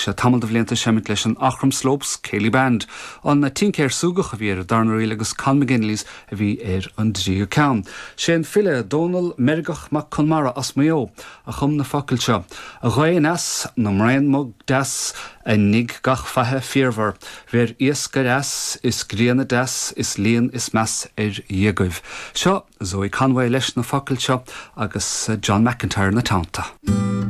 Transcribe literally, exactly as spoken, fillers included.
sé tamall de bhlianta ag seimint leis an Aughrim Slopes Céilí Band. An Tincéir Súgach a bhí ar an darna ríl agus Con McGinley's a bhí ar an dtríú ceann. Sé an file Dónal Meirgeach Mac Conmara as Maigh Eo a chum na focail seo. A ghaoth aneas na mbraon bog deas a nigh gach faiche fíormhar, Bheir iasc ar eas is grian deas is líon is meas ar dhéagaibh. Seo Zoe Conway leis na focail seo agus John McIntyre ina teannta.